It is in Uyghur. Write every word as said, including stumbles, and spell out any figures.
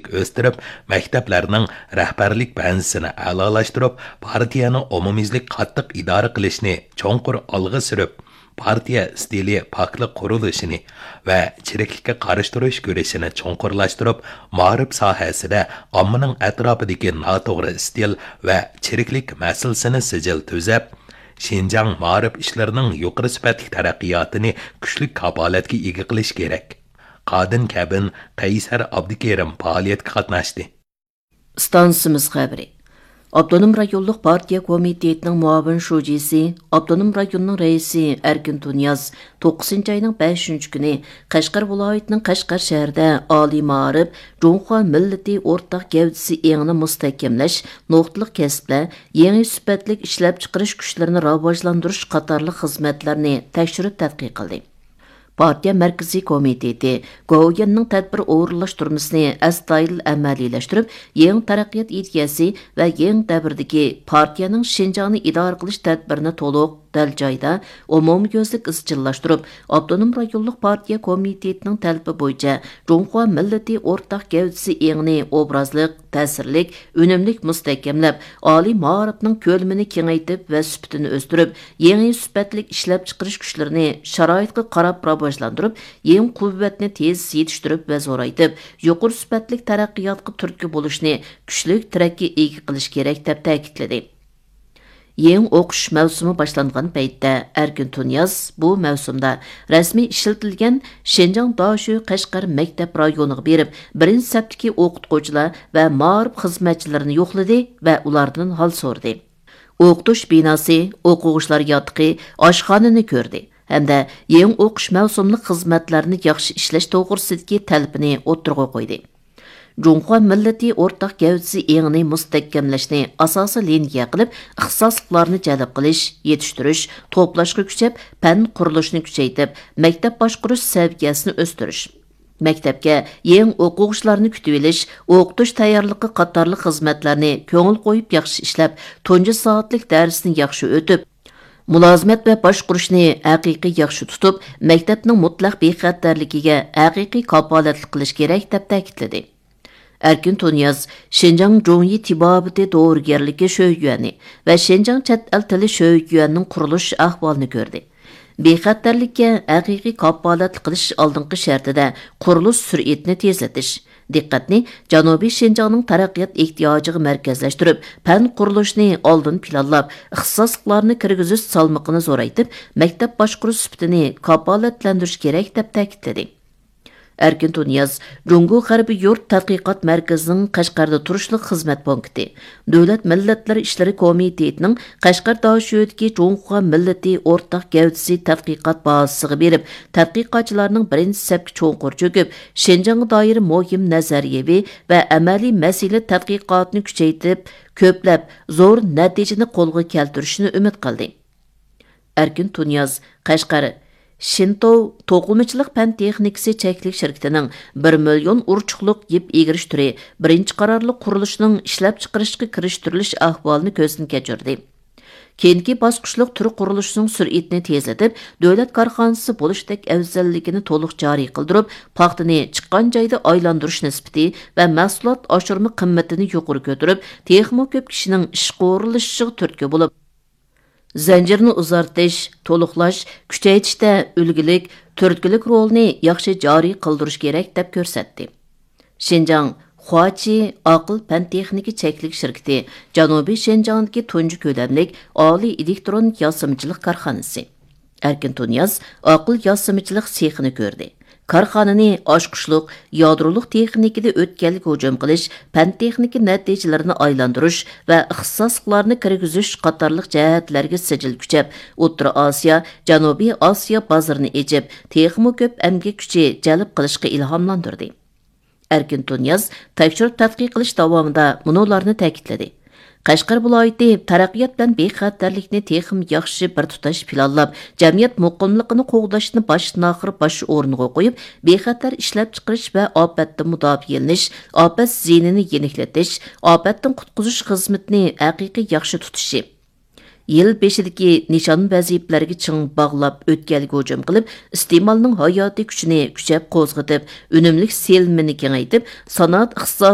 ئۈزلۈكسىزلىك ئۆستۈرۈپ، مەكتەپلەرنىڭ رەھبەرلىك بەنزىسىنى ئەلالاشتۇرۇپ، پارتىيەنى ئومۇميۈزلۈك قاتتىق ئىدارە قىلىشنى چوڭقۇر ئالغا سۈرۈپ، پارتىيە ئىستىلى پاكلىق قۇرۇلۇشىنى ۋە چىرىكلىككە قارشى تۇرۇش كۈرىشىنى چوڭقۇرلاشتۇرۇپ، مائارىپ ساھەسىدە ئاممىنىڭ ئەتراپىدىكى ناتوغرا ئىستىل ۋە چىرىكلىك مەسىلىسىنى سىجىل تۈزەپ، شىنجاڭ مائارىپ ئىشلىرىنىڭ يۇقىرى سۈپەتلىك تەرەققىياتىنى كۈچلۈك كاپالەتكە ئىگە قىلىش كېرەك. قادىن كەبىن، قەيسەر ئابدۇكېرىم پائالىيەتكە قاتناشتى. ئىستانسىمىز خەۋىرى. ئاپتونوم رايونلۇق پارتىيە كومىتېتىنىڭ مۇئاۋىن شۇجىسى، ئاپتونوم رايوننىڭ رەئىسى ئەركىن تۇنىياز توققۇزىنچى ئاينىڭ بەشىنچى كۈنى قەشقەر ۋىلايىتىنىڭ قەشقەر شەھىرىدە ئالىي مائارىپ، جۇڭخۇا مىللىتى ئورتاق گەۋدىسى ئېڭىنى مۇستەھكەملەش، نۇقتىلىق كەسىپلەر، يېڭى سۈپەتلىك ئىشلەپچىقىرىش كۈچلىرىنى راۋاجلاندۇرۇش قاتارلىق خىزمەتلەرنى تەكشۈرۈپ تەتقىق قىلدى. پارتىيە مەركىزىي كومىتېتى گوۋۇيۈەننىڭ تەدبىر ئورۇنلاشتۇرمىسىنى ئەستايىدىل ئەمەلىيلەشتۈرۈپ، يېڭى تەرەققىيات ئىدىيەسى ۋە يېڭى دەۋردىكى پارتىيەنىڭ شىنجاڭنى ئىدارە قىلىش تەدبىرىنى تولۇق، دەل جايدا، ئومۇميۈزلۈك ئىزچىللاشتۇرۇپ، ئاپتونوم رايونلۇق پارتىيە كومىتېتىنىڭ تەلىپى بويىچە جۇڭخۇا مىللىتى ئورتاق گەۋدىسى ئېڭىنى ئوبرازلىق، تەسىرلىك، ئۈنۈملۈك مۇستەھكەملەپ، ئالىي مائارىپنىڭ كۆلىمىنى كېڭەيتىپ ۋە سۈپىتىنى ئۆستۈرۈپ، يېڭى سۈپەتلىك ئىشلەپچىقىرىش كۈچلىرىنى شارائىتقا قاراپ راۋاجلاندۇرۇپ، يېڭى قۇۋۋەتنى تېز يېتىشتۈرۈپ ۋە زورايتىپ، يۇقىرى سۈپەتلىك تەرەققىياتقا تۈرتكە بولۇشنى كۈچلۈك تىرەككە ئىگە قىلىش كېرەك، دەپ تەكىتلىدى. يېڭى ئوقۇش مەۋسۇمى باشلانغان پەيتتە، ئەركىن تۇنىياز بۇ مەۋسۇمدا رەسمىي ئىشلىتىلگەن شىنجاڭ داشۆ قەشقەر مەكتەپ رايونىغا بېرىپ، بىرىنچى سەپتىكى ئوقۇتقۇچىلار ۋە مائارىپ خىزمەتچىلىرىنى يوقلىدى ۋە ئۇلاردىن ھال سورىدى. ئوقۇتۇش بىناسى، ئوقۇغۇچىلار ياتىقى، ئاشخانىنى كۆردى ھەمدە يېڭى ئوقۇش مەۋسۇملۇق خىزمەتلەرنى ياخشى ئىشلەش توغرىسىدىكى تەلىپىنى ئوتتۇرىغا قويدى. جۇڭخۇا مىللىتى ئورتاق گەۋدىسى ئېڭىنى مۇستەھكەملەشنى ئاساسىي لىنىيە قىلىپ، ئىختىساسلىقلارنى جەلپ قىلىش، يېتىشتۈرۈش، توپلاشقا كۈچەپ، پەن قۇرۇلۇشىنى كۈچەيتىپ، مەكتەپ باشقۇرۇش سەۋىيەسىنى ئۆستۈرۈش، مەكتەپكە يېڭى ئوقۇغۇچىلارنى كۈتۈۋېلىش، ئوقۇتۇش تەييارلىقى قاتارلىق خىزمەتلەرنى كۆڭۈل قويۇپ ياخشى ئىشلەپ، تۇنجى سائەتلىك دەرسنى ياخشى ئۆتۈپ، مۇلازىمەت ۋە باشقۇرۇشنى ھەقىقىي ياخشى تۇتۇپ، مەكتەپنىڭ مۇتلەق بىخەتەرلىكىگە ھەقىقىي كاپالەتلىك قىلىش كېرەك، دەپ تەكىتلىدى. ئەركىن تۇنىياز شىنجاڭ جۇڭيى تېبابىتى دورىگەرلىكى شۆيۈەنى ۋە شىنجاڭ چەت ئەل تىلى شۆيۈەنىنىڭ قۇرۇلۇش ئەھۋالىنى كۆردى. بىخەتەرلىككە ھەقىقىي كاپالەتلىك قىلىش ئالدىنقى شەرتىدە قۇرۇلۇش سۈرئىتىنى تېزلىتىش، دىققەتنى جەنۇبىي شىنجاڭنىڭ تەرەققىيات ئېھتىياجىغا مەركەزلەشتۈرۈپ، پەن قۇرۇلۇشىنى ئالدىن پىلانلاپ، ئىختىساسلىقلارنى كىرگۈزۈش سالمىقىنى زورايتىپ، مەكتەپ باشقۇرۇش سۈپىتىنى كاپالەتلەندۈرۈش كېرەك، دەپ تەكىتلىدى. ئەركىن تۇنىياز جۇڭگو غەربىي يۇرت تەتقىقات مەركىزىنىڭ قەشقەردە تۇرۇشلۇق خىزمەت پونكىتى، دۆلەت مىللەتلەر ئىشلىرى كومىتېتىنىڭ قەشقەر داشۆدىكى جۇڭخۇا مىللىتى ئورتاق گەۋدىسى تەتقىقات بازىسىغا بېرىپ، تەتقىقاتچىلارنىڭ بىرىنچى سەپكە چوڭقۇر چۆكۈپ، شىنجاڭغا دائىر مۇھىم نەزەرىيەۋى ۋە ئەمەلىي مەسىلە تەتقىقاتىنى كۈچەيتىپ، كۆپلەپ زور نەتىجىنى قولغا كەلتۈرۈشىنى ئۈمىد قىلدى. ئەركىن تۇنىياز قەشقەر شىنتوۋ توقۇمىچىلىق پەن تېخنىكىسى چەكلىك شىركىتىنىڭ بىر مىليون ئۇرچۇقلۇق يىپ ئېگىرىش تۈرى بىرىنچى قارارلىق قۇرۇلۇشىنىڭ ئىشلەپچىقىرىشقا كىرىشتۈرۈلۈش ئەھۋالىنى كۆزدىن كەچۈردى. كېيىنكى باسقۇچلۇق تۈر قۇرۇلۇشىنىڭ سۈرئىتىنى تېزلىتىپ، دۆلەت كارخانىسى بولۇشتەك ئەۋزەللىكىنى تولۇق جارى قىلدۇرۇپ، پاختىنى چىققان جايدا ئايلاندۇرۇش نىسبىتى ۋە مەھسۇلات ئاشۇرما قىممىتىنى يۇقىرى كۆتۈرۈپ، تېخىمۇ كۆپ كىشىنىڭ ئىشقا ئورۇنلىشىشىغا تۈرتكە بولۇپ، زەنجىرنى ئۇزارتىش، تولۇقلاش، كۈچەيتىشتە ئۈلگىلىك، تۈرتكىلىك رولىنى ياخشى جارى قىلدۇرۇش كېرەك، دەپ كۆرسەتتى. شىنجاڭ خۇاچى ئاقىل پەن تېخنىكا چەكلىك شىركىتى جەنۇبىي شىنجاڭدىكى تۇنجى كۆلەملىك ئالىي ئېلېكترون ياسىمىچىلىق كارخانىسى. ئەركىن تۇنىياز ئاقىل ياسىمىچىلىق سېخىنى كۆردى. كارخانىنى ئاچقۇچلۇق، يادرولۇق تېخنىكىدا ئۆتكەلگە ھۇجۇم قىلىش، پەن تېخنىكا نەتىجىلىرىنى ئايلاندۇرۇش ۋە ئىختىساسلىقلارنى كىرگۈزۈش قاتارلىق جەھەتلەرگە سىجىل كۈچەپ، ئوتتۇرا ئاسىيا، جەنۇبىي ئاسىيا بازىرىنى ئېچىپ، تېخىمۇ كۆپ ئەمگەك كۈچى جەلپ قىلىشقا ئىلھاملاندۇردى. ئەركىن تۇنىياز تەكشۈرۈپ تەتقىق قىلىش داۋامىدا مۇنۇلارنى تەكىتلىدى. قەشقەر ۋىلايىتى تەرەققىيات بىلەن بىخەتەرلىكنى تېخىمۇ ياخشى بىر تۇتاش پىلانلاپ، جەمئىيەت مۇقىملىقىنى قوغداشنى باشتىن-ئاخىر باش ئورنىغا قويۇپ، بىخەتەر ئىشلەپچىقىرىش ۋە ئاپەتتىن مۇداپىئەلىنىش، ئاپەت زىيىنىنى يېنىكلىتىش، ئاپەتتىن قۇتقۇزۇش خىزمىتىنى ھەقىقىي ياخشى تۇتۇشى، يىل بېشىدىكى نىشان ۋەزىپىلەرگە چىڭ باغلاپ ئۆتكەلگە ھۇجۇم قىلىپ، ئىستېمالنىڭ ھاياتىي كۈچىنى كۈچەپ قوزغىتىپ، ئۈنۈملۈك سېلىنمىنى كېڭەيتىپ، سانائەت ئىقتىسادىنى